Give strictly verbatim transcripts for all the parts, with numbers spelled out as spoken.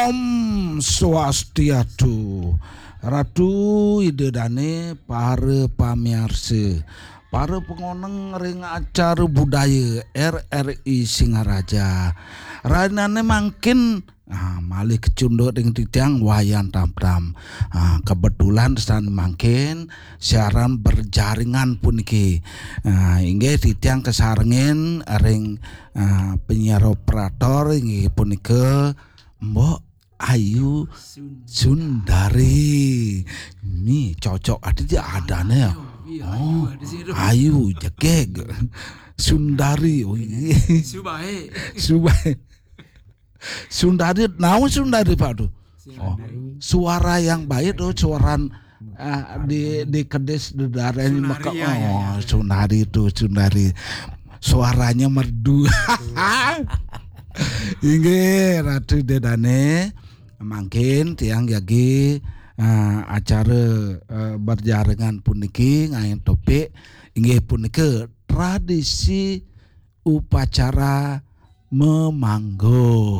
Om Swastiastu. Ratu Ida Dane, para pamiarsa, para pangoneng ring acara budaya R R I Singaraja. Rainane mangkin, ah, malih kacunduk ring titiang Wayan Tamtam. Ah, kebetulan sane mangkin siaran berjaringan puniki. Ah, inggih titiang kasarengin ring, ah, penyiar operator inggih punika Mbok Ayu Sundari. Ni cocok ada dia adane ya. Ayu, iya, Ayu Oh, ada sini tuh. Ayu jegeg. Sundari. Oh iya. Subae. Subae. Sundari, naon Sundari Pak tuh? Oh, Sundari. Suara yang baik tuh, suara, ah, di di kedis di daerah ini Sunari, maka ya, ya, oh ya. Sundari tuh Sundari. Suaranya merdu. Inggih, Ratu Ida Dane. Mangkin tiang jagi, eh, acara, eh, berjaringan puniki ngangge topik inggih punika tradisi upacara memangguh.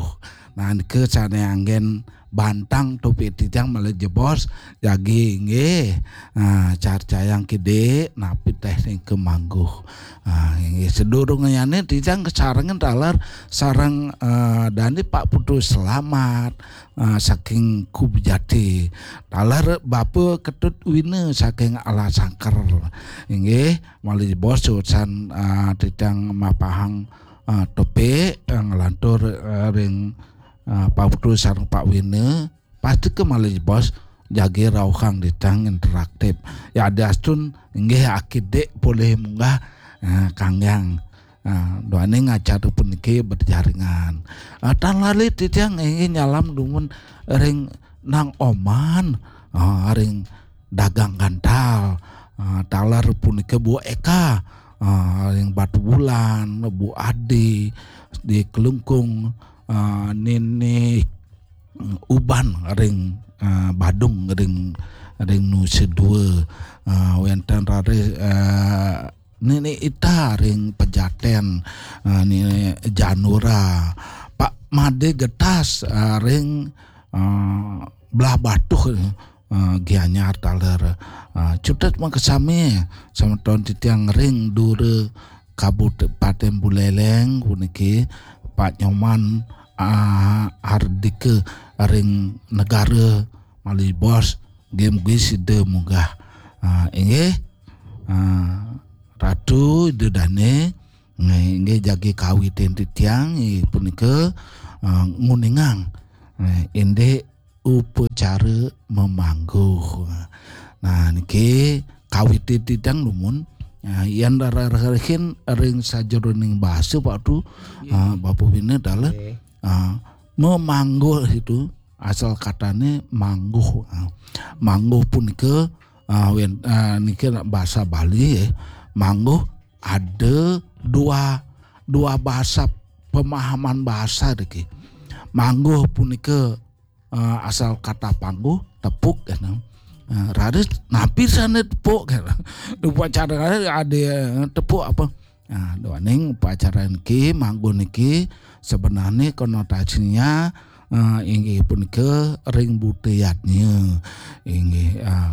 Nah, nika sane anggen bantang topik titiang malih jebos jagi inggih. Ah, carcayang kidik napi teh nika mangguh. Ah, inggih, sadurungnyane titiang kasarengin taler sareng, eh, dane Pak Putu Selamat, ah, saking Kubjati. Taler Bapa Ketut Wina saking Alasangker. Inggih, malih jebos usan, ah, titiang mapahang, ah, topik, ah, nglantur, ah, ring, ah, Pak Putu sareng Pak Wina. Pastika malih jebos jagi rauhang titiang interaktif. Ya, diastun inggih akidik polih munggah, eh, kanggiang, eh, duaning acara puniki berjaringan. Eh, tan lali titiang inggih nyalam dumun ring Nang Oman, eh, ring dagang gantal, eh, taler punika Bu Eka, eh, ring Batubulan, Bu Adi di Klungkung, eh, Nini Uban ring, eh, Badung ring, ring Nusa Dua, eh, wenten raris, eh, Nini Ita ring Pejaten, eh, Nini Janura, Pak Made Getas, eh, ring, eh, Blahbatuh, eh, Gianyar taler, eh, cutet makasami semeton titiang ring dura Kabupaten Buleleng puniki, Pak Nyoman, ah, Hardika ring Negara malih bos, nggih mugi sida munggah. Ah, inggih, ah, Ratu Ida Dane, nggih, inggih jagi kawitin titiang, inggih punika, ah, nguningang, eh, indik upacara memangguh. Nah, niki kawitin titiang dumun, ah, yen rararahin ring sajeroning basa Pak Tu, nggih, ah, Bapak Bina taler, nggih, ah, memangguh itu asal katane mangguh. Ah, mangguh punika, ah, wen-, ah, niki basa Bali, eh. Mangguh ada dua, dua basa, pemahaman basa niki. Mangguh punika, eh, asal kata pangguh, tepuk, kan. Eh, raris napi sane tepuk, kan. Upacara ada, eh, tepuk apa? Nah, duaning upacara niki, mangguh niki sebenarnya konotasinya, eh, inggih punika ring buta yadnya. Inggih, eh,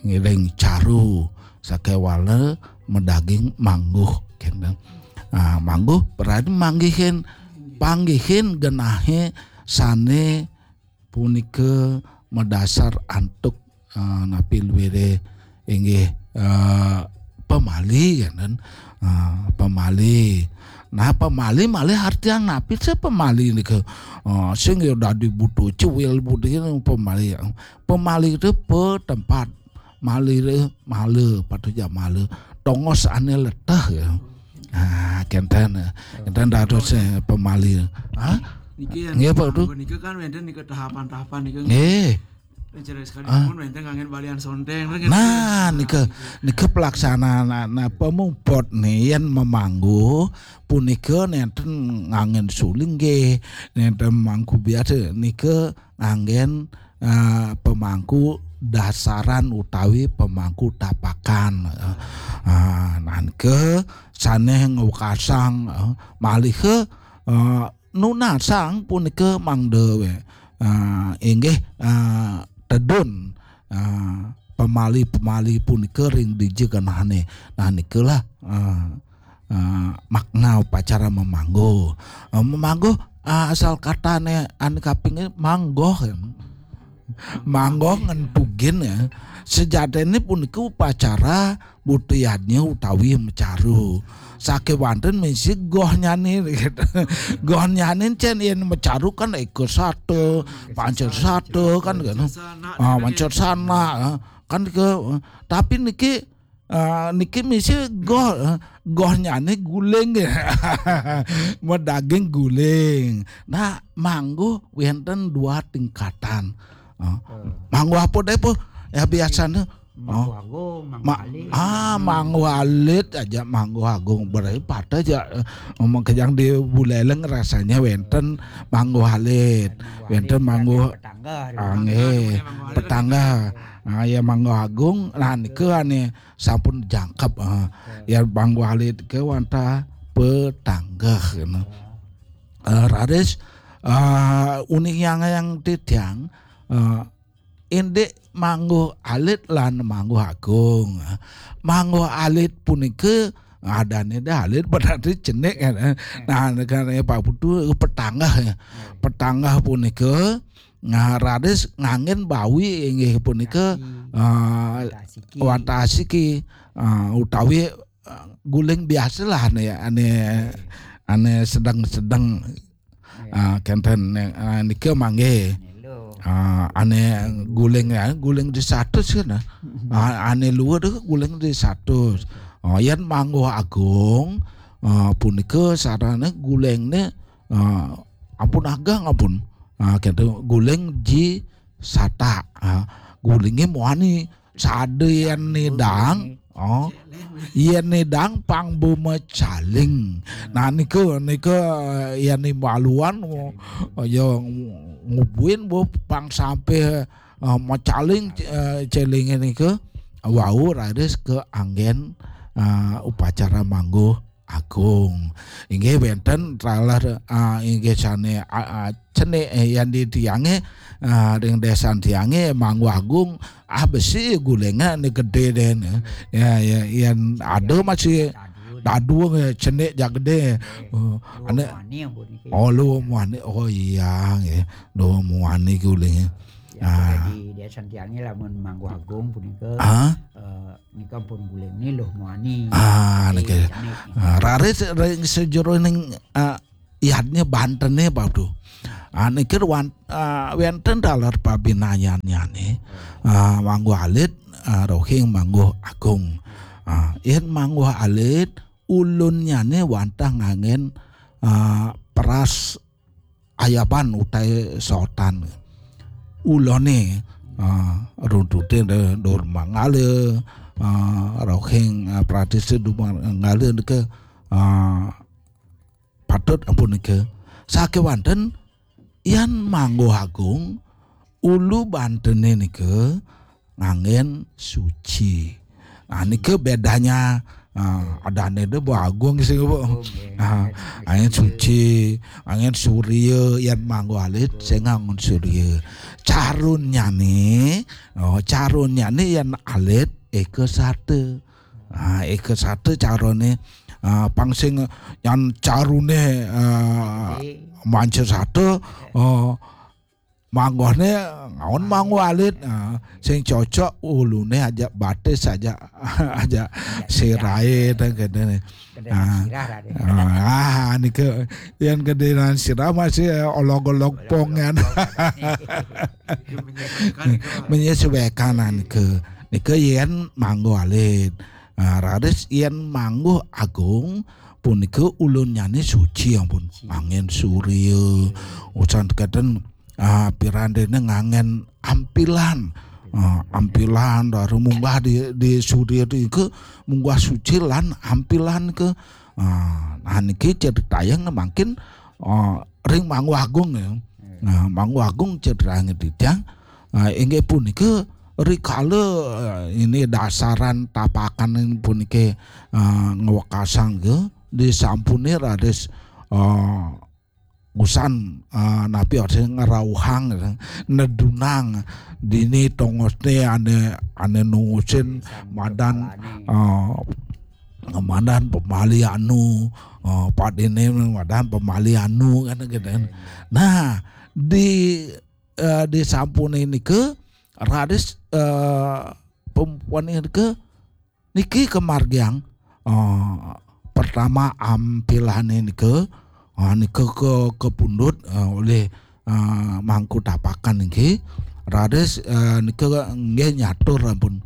inggih ring caru sakewala madaging mangguh, kenten. Ah, mangguh berarti manggihin, panggihin genahe sane punika madasar antuk, eh, napi luire inggih, eh, pamali, kenten. Eh, pamali. Nah, pamali malih artian napi sih pamali nika? Eh, sing ya dadi buta cuwil buta pamali. Pamali itu pe tempat, mali itu mala, patuh ja mala. Tongos ane leteh ya. Ah, kenten. Kenten dados, eh, pamali. Hah? Niki yang nggih, Pak, Tu. Nika kan wenten nika tahapan-tahapan nika. Nggih. Niki sekali ah, pun wenten nganggen balian sonteng, kan? Nah, nika, nika pelaksanaan, nah, pamuput nih, yen memanggu punika nenten nganggen suling nggih, nenten mangku biasa, nika nganggen, eh, pemangku dasaran utawi pemangku tapakan. Eh, ah, nah, nika sane ngwekasang, eh, malih, eh, nunasang punika mangda we-, ah, inggih, ah, tedun, ah, pamali-pamali punika ring dija genahne. Nah, nikalah, ah, ah, makna upacara mamangguh. Ah, mamangguh, ah, asal katane ane kaping manggoh, ya. Manggoh ngentugin, ya. Sejatine punika upacara buta yadnya utawi macaru. Sakewanten misi gohnyane, gitu. Gohnyane cen yen macaru kan eka sata, panca sata kan, gitu. Ah, panca sana, ah, kan ke, tapi niki, ah, niki misi goh, ah, gohnyane guling. Madaging guling. Nah, mangguh wenten dua tingkatan. Ah, mangguh apa deh, Bu? Ya, biasanya. Mangguh Agung, Mangguh Ma-, Alit. Ah, Mangguh Alit aja, Mangguh Agung. Berarti pada aja, eh, ngomong ke yang di Buleleng rasanya wenten Mangguh Alit. Wenten Mangguh Petangga, Angge, Petangga. Ah, ya, Mangguh Agung, nah, nika ane sampun jangkep, ah. Ya, Mangguh Alit ke wantah Petangga, gitu. Eh, raris, eh, uning yang, yang titiang, eh, indik Mangguh Alit lan Mangguh Agung. Mangguh Alit punika adane dah alit berarti cenik, kan. Nah, kan, ya, Pak Putu, Petangga, ya. Petangga punika, nah, raris nganggen bawi inggih punika, ah, wantah asiki, ah, utawi, ah, guling biasalah ane, ane, ane sedeng-sedeng. Ah, kenten, ah, nika mangge. Ah, ane guling, ya, guling di satus kan, ah. Ah, ane luwur guling di satus. Ah, yen Mangguh Agung, ah, punika sarane gulingne, ah, ampun ageng, ampun. Ah, kenten guling ji satak. Ah, gulinge muani. Sada yen nidang, oh, yen nidang pang bumacaling. Nah, nika, nika, eh, yen imbaluan, oh, ya, ngubuin, Bu, pang sampai, eh, macaling, eh, celinge nika. Wau raris ke anggen, eh, upacara mangguh Agung. Inggih wenten taler, ah, inggih sane, ah, ah, cenik, eh, yen di tiange, ah, ring desan tiange Mangguh Agung, ah, besi gulinge ni gede deh ni. Ya, ya, yen ada masih dadua, eh, cenik jak gede. Oh, ane, oh, lu muani. Oh, iya, nggih. Lu muani gulinge. Ya, ah, di desan tiange lamun Mangguh Agung punika, ah, eh, nika pun gulingne luh muani. Ah, niki. Ah, raris ring sajeroning, ah, yadnya bantene, Pak Abdu. Ah, niki wan-, ah, wenten taler pabinayannyane. Ah, Mangguh Alit, ah, rohing Mangguh Agung. Ah, yen Mangguh Alit, ulunnyane wantah nganggen, ah, peras ayaban utawi sotan. Ulone, ah, runtute de-, dur manggala, ah, rohing, ah, pratise dur manggala nika, ah, patut ampun nika. Sakewanten yen Mangguh Agung, ulu bantene nika nganggen suci. Nah, nika bedanya, ah, adane de Mangguh Agung sing, Bu. Agung, ya. Ah, nganggen suci, nganggen surya, yen Mangguh Alit sing nganggen surya. Carunnyane, oh, carunnyane yen alit eka sata. Ah, eka sata carone, ah, pang sing yen carune, ah, manca sata, oh, manggohne ngaon Mangguh Alit, ah, sing cocok ulune aja batis aja, aja sirahe, teng kene. Kene, ah, sirah, Raden. Ah, ah, nika yen gedenan sirah masih olog-olog pong, kan. Menyesuaikan, nika. Nika yen Mangguh Alit. Ah, raris yen Mangguh Agung punika ulunnyane suci, ampun. Angin surya, usan keten, ah, pirandene nganggen ampilan. Ah, ampilan, lalu munggah di, di surya nika munggah suci lan ampilan ke, ah, nah, niki ceritayang mangkin, ah, ring Mangguh Agung, ya. Nah, Mangguh Agung ceritayang titiang, ah, inggih punika rikala, ah, ini dasaran tapakan puniki, ah, ngwekasang ke disampune raris, ah, usan, ah, napi artine ngrauhang, nedunang dini tongosne ane, ane nungusin madan, ah, madan pemali anu, ah, padine madan pemali anu kan gitu kan. Nah, di, eh, di sampune nike raris, eh, pempuan nike niki kamargiang, eh, pertama ampilane nike, eh, nike ke, kapundhut, eh, olih, eh, mangku tapakan niki. Raris, eh, nike nggih nyatur ampun.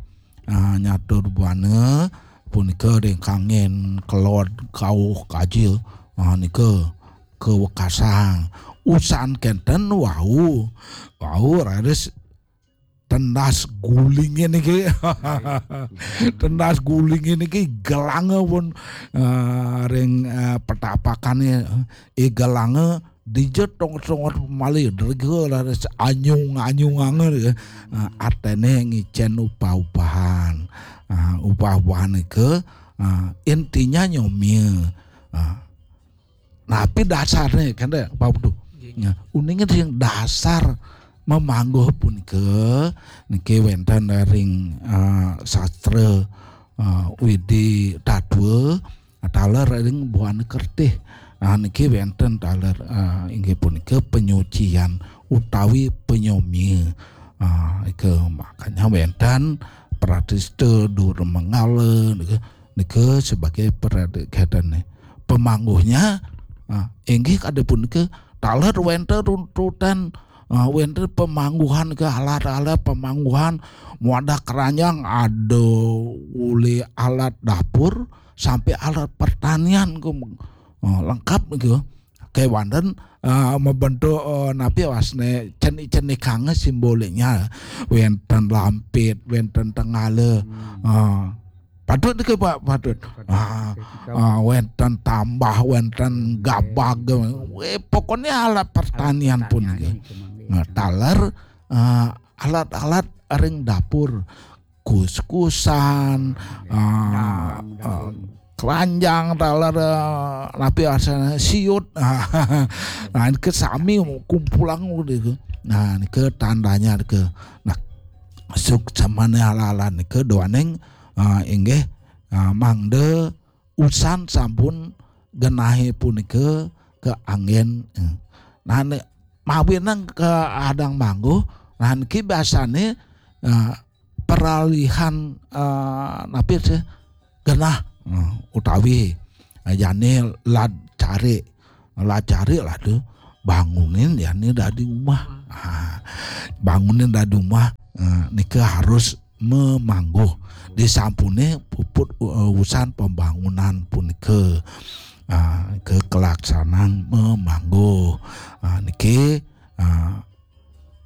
Eh, nyatur buana punika ring kangin kelod kauh kaja. Eh, nike kawekasang. Usan kenten wau, wau raris tendas gulinge niki. Tendas gulinge niki gelanga pun, eh, ring, eh, petapakane, eh, gelanga dija tongos-tongos pemali, drega raris anyung-anyunganga, eh, artene ngicen upah-upahan. Eh, upah-upahan nika, eh, intinya nyomia. Eh, Napi dasarne kan, Pak Putu? Nggih. Ya, uninge sing dasar mamangguh punika niki wenten ring, eh, sastra, eh, Widi Tatwa, taler ring Buana Kertih. Ah, niki wenten taler, eh, inggih punika penyucian utawi penyomia. Ah, ika makanya wenten pratista dur manggala nika, nika sebagai pradikatane. Pemangguhnya, ah, inggih kade punika taler wenten runtutan, ah, wenten pemangguhan ke alat-alat pemangguhan, muadah keranjang ada uli alat dapur sampai alat pertanian ke, ah, lengkap ke. Kewanten, ah, mabentuk, ah, napi wasne cenik-cenikanga simboliknya. Wenten lampit, wenten tenggala. Hmm. Ah, patut ke, Pak, patut. Patut. Ah, ah, wenten tambah, wenten gabag. Weh, pokoknya alat pertanian pun pertanian ke. Nah, taler, ah, alat-alat ring dapur, kuskusan, ah, ah, keranjang, taler, ah, napi asane siut. Nah, ke sami kumpulang udah ke. Nah, ke tandanya ke. Nah, suksemane ala-ala ke duaning, ah, inggih, ah, mangda usan sampun genahe punika kaanggen. Eh. Nah, ne, mawinan ke adang mangguh, nah, niki biasane, eh, peralihan, eh, napi sih genah, eh, utawi, eh, jane lad carik. Lad carik lah tu bangunin jane dadi umah. Ah, bangunin dadi umah, eh, nika harus mamangguh. Disampune puput, eh, usan pembangunan punika, ah, ke kelaksanaan mamangguh. Ah, niki, ah,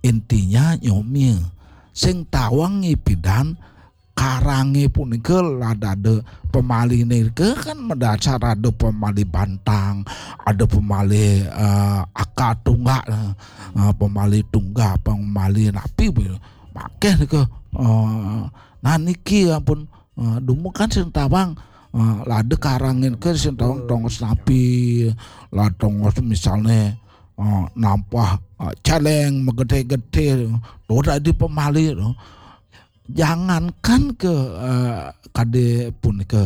intinya nyomia. Sing tawang ipidan karange punika lad ada pemaline ke kan madasar ada pemali bantang, ada pemali, eh, aka tunggak, eh, pemali tunggak, pemali napi be-, makeh nika, eh, nah niki ampun, eh, dumekan sing tawang, eh, lad ada karange ke sing tawang tongos napi, lad tongos misalne, eh, nampah, eh, celeng magedhe-gedhe, to dadi pemali to. Jangankan ke, eh, kade punika,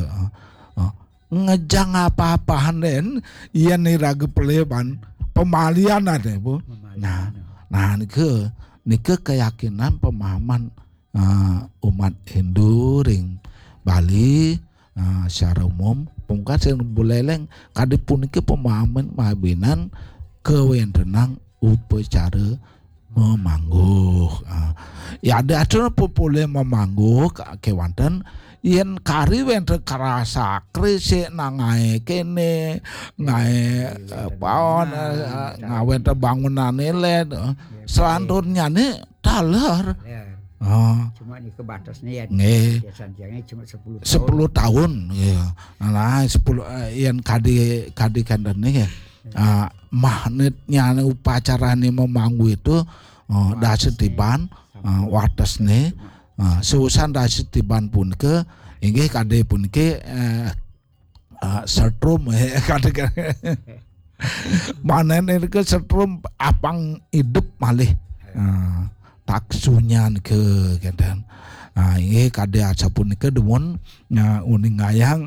eh, ngejang apa-apahan den, yen iraga pelih ban pemalian ade, Bu. Pemalian. Nah, nah, nika, nika keyakinan pemahaman, eh, umat Hindu ring Bali, eh, secara umum, pungkasan buleleng, kade punika pemahaman mawinan kawentenan upacara mamangguh. Ah, ya, ada atur populer mamangguh ka-, kewanten yen kari wenten karasa krisik nang ngae kene, ngae, eh, paon, eh, ngae wenten bangunan ilet, eh. Selanturnya ni taler. Ya. Ah. Cuma ni kebatasnya ya, nggih. Biasanya cuma sepuluh tahun. Sepuluh tahun, ya. Nah, sepuluh, eh, yen kadi, kadi kenten ni, ya. Ah, magnetnya upacarane mamangguh itu, oh, dasetiban, ah, watesne, ah, seusan dasetiban punika, inggih kade puniki, eh, ah, setrum, eh, kade, kade. Manehna nika setrum apang idup malih. Ah, taksunya nika kenten. Ah, inggih kadi asapunika dumun, ah, uningayang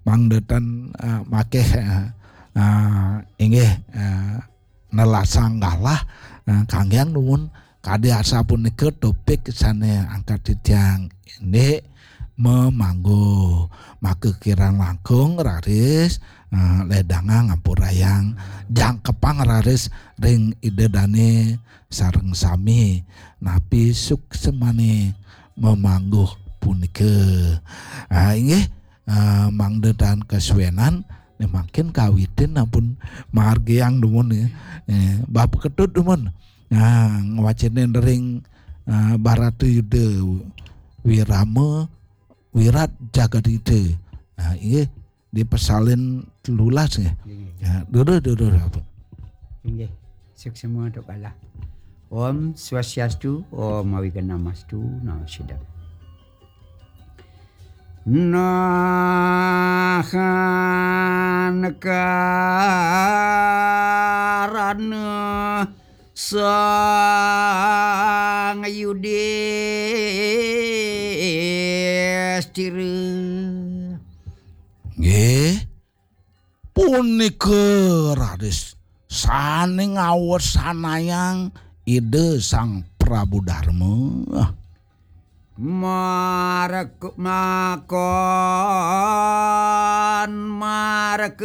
mangda tan, ah, makeh, ah, ah, inggih, ah, nelasang galah, ah, kanggiang dumun kadi asapunika topik sane angkat titiang indik memanggu. Maka kirang langkung raris, ah, ledangang ampurayang jangkepang raris ring Ida Dane sareng sami napi suksemane memanggu punika. Ah, inggih, ah, mangda tan kasuenan, ne mangkin kawitin ampun margiang dumun ya. Eh, Bab Ketut dumun. Nah, ngwacenin ring, ah, Barata Yuda Wirama Wirat Jagadita. Nah, inggih dipesalin telulas nggih. Inggih. Ya, dulu dulu apa? Inggih. Suksema tuk galah. Om Swastiastu, Om Awighnamastu, Namo Siddham. Nahan karana Sang Yudistira. Nggih, punika raris sane ngawesanayang Ida Sang Prabu Darma. Marek makon marek